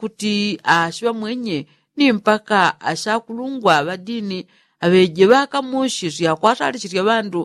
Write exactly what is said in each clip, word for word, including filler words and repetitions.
kuti ashiŵa mwenye ni mpaka ashakulungwa ŵadini aŵeje ŵakamushisya kwatalishisya ŵandu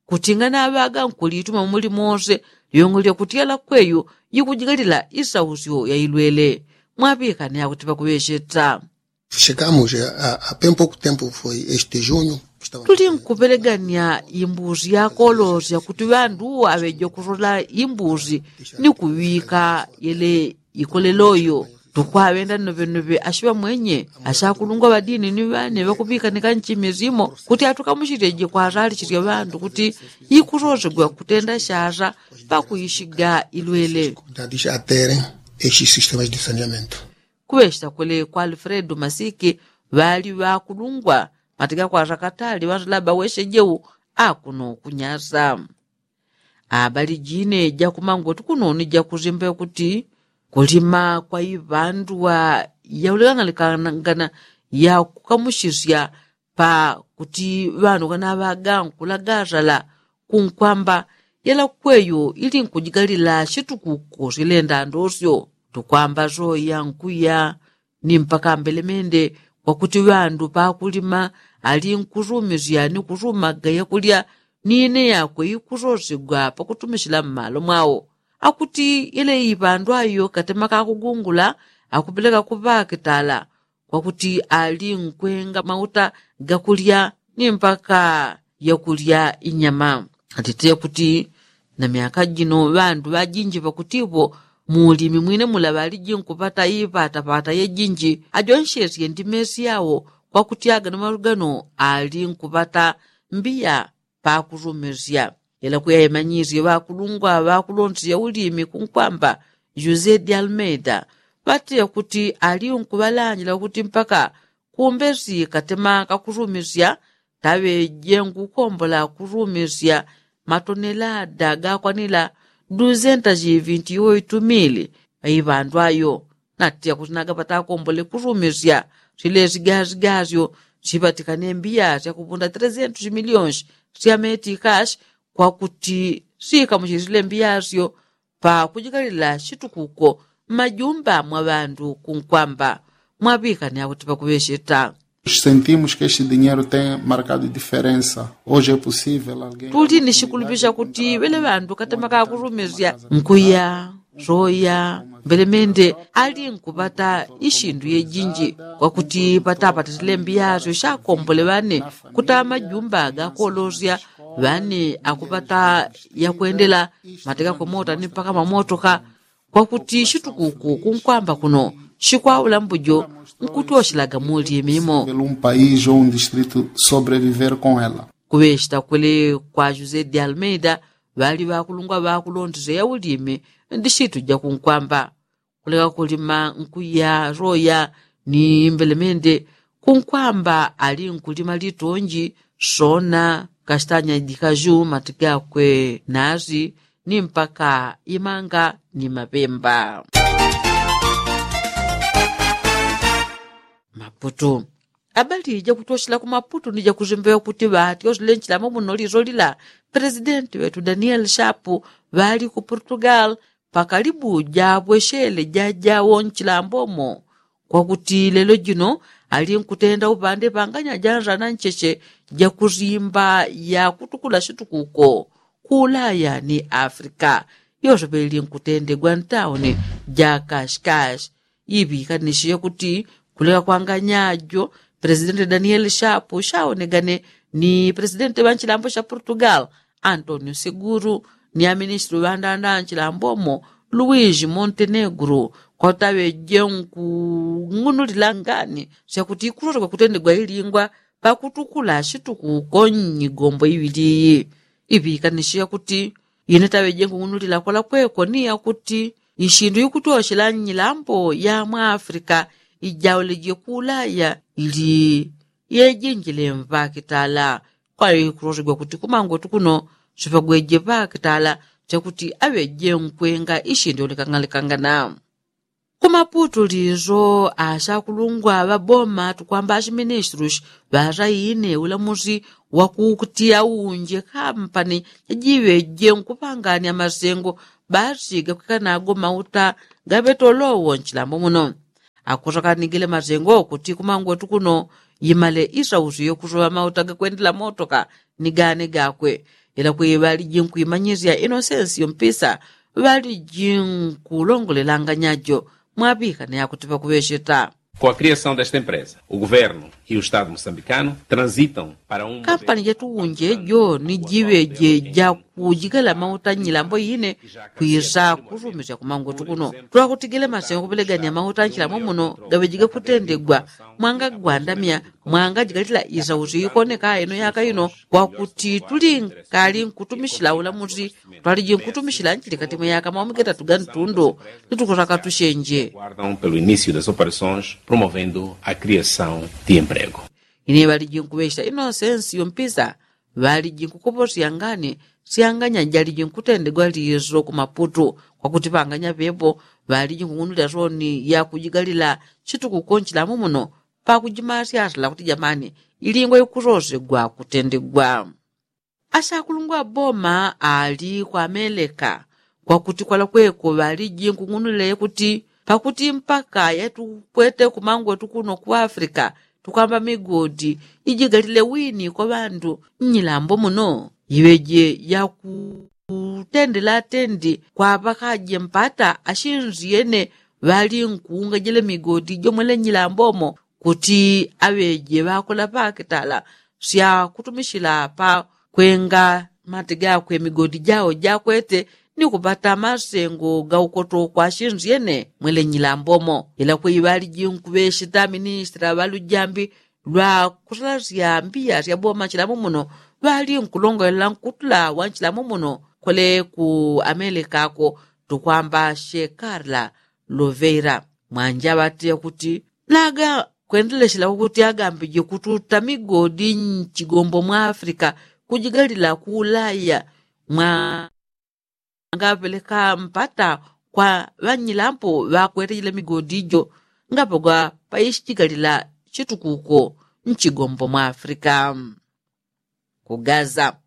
kuti nganaŵaga nkulituma muli mose lyongo lyakutyela kweyu yikujigalila isausyo yailwele. Mwaŵikane akuti ŵakuŵesheta. Chegamos a, a, a bem pouco tempo foi este junho. Tuli nkupelegania imbuzi yakolosya kuti ŵandu aŵeje kusola imbuzi ni kuŵika yele ikoleloyo. Tukwaŵenda nnoŵenoŵe ashiŵa mwenye ashakulungwa ŵadini ni ŵane ŵakuŵikanika nchimi simo kuti atukamushiteje kwasalishisya ŵandu kuti ikusosegwa kutenda shasa pakuishiga ilwele. Kuŵeshita kwele kwa alfredo masiki ŵali ŵakulungwa matika kwasakatali ŵandu laba weshejeu akuno kunyasa. Abali jine jakumangoti kuno ni jakuzimba kuti kulima kwa iŵandu wa yaulekang'anekangana yakukamushisya pakuti ŵandu kanaŵaga nkulagasala kunkwamba yela kweyo ili nkujigalila shitukuko shilenda ndosyo. Tukwamba soya nkuya ni mpaka mbelemende kwakuti ŵandu pakulima ali nkusumisya ni kusumaga yakulya ni ine yakwe ikusosigwa pakutumishila mmalo mwao. Akuti yele iŵandu ayo katema kakugungula akupeleka kuŵakitala kwakuti ali nkwenga mauta gakulya ni mpaka yakulya inyama. Atite kuti na myaka jino ŵandu ŵajinji ŵakutipo mulimi mwine mula ŵaliji nkupata ipatapata yejinji ajonshesye ndimesi yao kwakuti agano maŵagano ali nkupata mbiya pakusumisya. Ila kuyaimanyisye ŵakulungwa ŵakulonsi yaulimi kunkwamba jose de almeida ŵatile kuti ali nkuŵalanjila kuti mpaka kumbesi katema kakusumisya taŵeje nkukombola kusumisya matonelada gakwanila duzentas vinti oitu mili. Iŵandu ayo natiya kuti nagapata akombole kusumisya silesigazigasyo siŵatikane mbiya syakupunda trezentos miliyonsi sya metikashi kwakuti sikamusisile mbiyasyo pakujikalila shitukuko mmajumba mwa ŵandu kunkwamba. Mwaŵikane akuti pakuŵesheta. Sentimos que este dinheiro tem marcado diferensa. Hoje é possível alguém tuli ni shikulupisha kuti ŵele ŵandu katema kakusumisya nkuya soya mbelemende ali nkupata ishindu yejinji kwakuti patapata silembi yasyo shakombole ŵane kutama majumba gakolosya ŵane akupata yakwendela mateka kwemota ni mpaka mamotoka kwakuti shitukuku kunkwamba kuno shikwaula mbujo nkutyoshelaga mulye mimo. Pelo um país ou um distrito sobreviver com ela. Kuŵeshita kwele kwa jose de almeida ŵali ŵakulungwa ŵakulondesya yaulimi ndi shitu jakunkwamba kuleka kulima nkuya soya ni mbelemende kunkwamba ali nkulima litonji sona kastanya dikaju mati gakwe nasi ni mpaka imanga ni maŵemba. Maputu. Abali jakutyoshela ku maputu ni jakuzimbewa kuti ŵati osile nchilamo muno liso lila presidenti ŵetu daniel shapu ŵali ku portugal pakalibu jabweshele jajawo nchilambomo kwakuti lelo jino ali nkutenda upande panganya janzana ncheche jakuzimba yakutukula shitukuko ku ulaya ni afrika yosopeli nkutendegwa ntauni ja kashikashi. Iŵikanishiye kuti kuleka kwanganya jo presidenti daniel shapu shaonegane ni presidenti ŵa nchilambo sha portugal antonio seguru ni aministri ŵandanda nchilambomo luis montenegro kwataŵeje nkung'unulila ngani syakuti ikulolekwa kutendegwa ilingwa pakutukula shitukuko nnyigombo iŵili iyi. Iŵikanishiye kuti ine taŵeje nkung'unulila kwalakweko ni yakuti ishindu ikutyoshela nnyilambo ya mwa afrika ijauleje ku ulaya ili yejinjile mŵakitala. Kwali kulosegwa kuti kumangotu kuno sipagweje ŵakitala chakuti aŵeje nkwenga ishindu yolekang'alekangana. Kumaputu liso ashakulungwa ŵaboma tukwamba ashiministrus ŵasaine ulamusi wakukutiya unje kampani jajiŵeje nkupangania masengo basi gakwikanago mauta gaŵetolowo nchilambo muno. Akusaka ni gele masengo kuti kumangwetu kuno yimale isausyo yokusoŵa mauta gakwendela motoka ni gane gakwe. Ila kwi ŵaliji nkwimanyisya inosensi yompisa ŵaliji nkulongolelanga nyajo mwaŵikana yakuti ŵakuŵesheta. Kwa kriasaun desta empresa, o guvernu i o estadu mosambikanu transitan para un kampani jatuwunje jo ni jiŵeje jakujigala mauta nyilambo ine kwisa kusumisya kumangwetu kuno. Twakutigile masengo kuŵelegania mauta nchilambo muno gaŵeje gakutendegwa mwanga gwandamya mwanga jigalila isausyo ikoneka ino yaka ino. Kwakuti tuli nkali nkutumisila ulamusi twaliji nkutumisila nchilikati mwa yaka maumi getatu ga ntundu. Nitukusaka tusenje. Pelo início das operações promovendo a criação de emprego. Ine ŵaliji nkuŵesha inosensi yompisa ŵaliji nkukoposya ngani syanganya jaliji nkutendegwa liso kumaputu. Kwakuti ŵanganya ŵepo ŵaliji nkung'unulila soni yakujigalila chitukuko nchilambo muno pakujimasyasila kuti jamani ilingwa ikusosegwa kutendegwa. Asakulungwa boma ali kwa ameleka kwakuti kwalakweko ŵaliji nkung'unulila yakuti pakuti mpaka yatukwete kumangwetu kuno ku afrika tukwamba migodi ijigalile wini kwa ŵandu. Nyilambo muno iŵeje yakutendela atendi kwaŵakaje mpata ashinsyene ŵali nkuungajile migodi jomwele nyilambomo kuti aŵeje ŵakola ŵakitala syakutumisila pakwenga mati gakwe migodi jao jakwete ni kupata masengo gaukoto kwa shinsyene mwele nyilambomo. Ila kwi ŵaliji nkuŵesheta ministra ŵalujambi lwa kusalasya mbiya syaboma nchilambo muno ŵali nkulongolela nkutula wa nchilambo muno kole ku ameleka ako tukwamba shekarla luveira. Mwanja ŵateya kuti laga kwendeleshela kwakuti agambije kututa migodi nchigombo mwa afrika kujigalila ku ulaya mwa ngaŵeleka mpata kwa ŵanyilambo ŵakwetejele migodi ijo ngapagwa paishijigalila chitukuko nchigombo mwa afrika. Ku gaza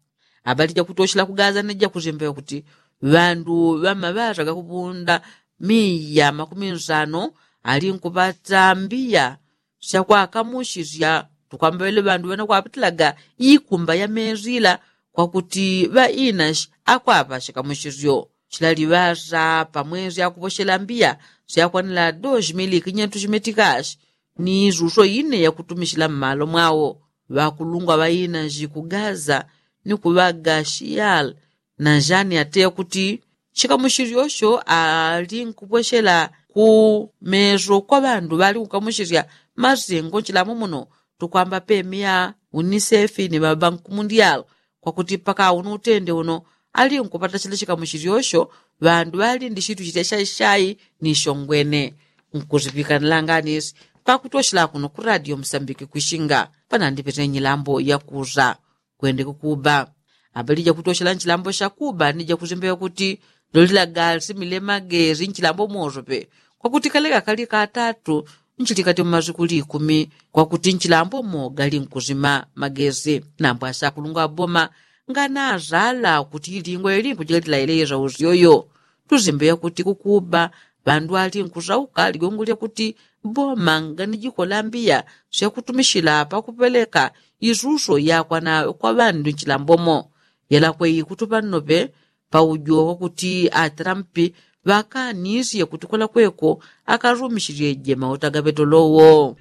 abalija kutoshela ku gaza ni jakusimba yakuti ŵandu ŵamaŵasa gakuŵunda miya makumi nsano ali nkuŵata mbiya syakwakamushisya tukwamba ŵele ŵandu ŵanakwapitilaga ikumba ya mezi ila kwakuti ŵainashi akwaŵa shikamushisyo shilaliŵasa pamwezi akuŵoshela mbiya syakwanila dos mili kinyentu shimetikashi ni isuso ine yakutumishila mmalo mwao. Ŵakulungwa ŵainashi ku gaza ni kuŵaga shiyal na jani ateya kuti shikamushisyo sho ali nkupweshela ku meso kwa ŵandu ŵali kukamushisya masengo nchilambo muno tukwamba pemia unisefi ni ŵabanku mundial kwakuti mpaka uno utende uno ali nkupata chila shikamushisyo sho ŵandu ŵali ndi shitu chitya shaishai ni shongwene. Nkusiŵikanila nganisi pakutoshela kuno ku radio musambiki kwishinga panandipetele nyilambo yakusa kwende kukuba. Abalija kutoshela nchilambo shakuba ni jakusimba yakuti lolilaga simile magezi nchilambo mosope kwakuti kale kakali katatu nchilikati mumasiku likumi kwakuti nchilambo moga linkusima magezi. Nambo asakulungwa boma nganasala kuti ilingwa ili nkujikalila ileisa usyoyo. Tusimbe yakuti kukuba ŵandu ali nkusauka ligongo lyakuti boma nganijikola mbiya syakutumishila pakuŵeleka isuso yakwana kwa ŵandu nchilambo mo. Yalakwe ikutuŵa nnoŵe paujo wakuti atrampi ŵakanisye kuti kwalakweko akasumishilyeje mauta gaŵetolowo.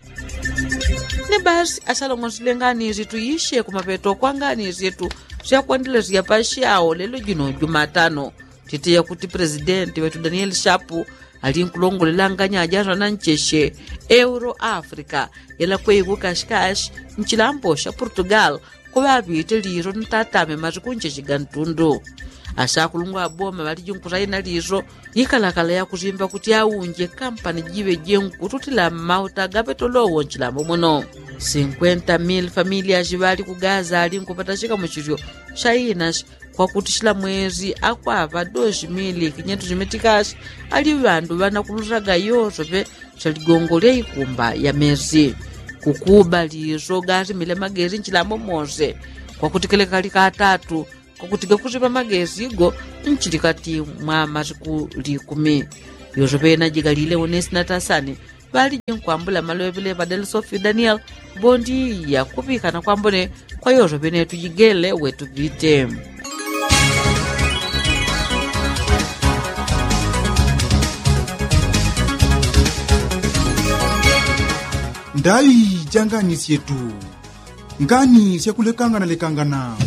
Ni basi asalong'onsile nganisi tuisye kumaŵeto kwa nganisi yetu syakwandelesya pasyao lelo jino jumatano. Titeya kuti presidenti ŵetu danieli shapu ali nkulongolela nganyaja sana nchesye euro africa yalakwe iku kashikashi nchilambo sha portugal. Kuŵaŵite liso ni tatame masiku ncheche ga ntundu. Asakulungwa aboma ŵaliji nkusaina liso ikalakala yakusimba kuti aunje kampani jiŵe jenkututila mmauta gaŵetolowo nchilambo muno. Sinkwenta mili familia jiŵali ku gaza ali nkupata shikamuchisyo shaina kwakuti shila mwezi akwaŵa dosi mili kinyentu jimitikashi ali ŵandu ŵanakulutaga yosope sha ligongo lya ikumba ya mezi. Kukuba liso gasimile magezi nchilambo mose kwakuti kele kali katatu kwakuti gakusipa magezi go nchilikati mwa masiku likumi. Yosope najigalile unesi na tasani ŵaliji nkwambula malwevele ŵadele sofi daniel. Bondi yakuŵikana kwambone kwa yoto ŵenetu jigele wetu ŵite. Ndai janganisye tu ngani syakulekangana lekangana.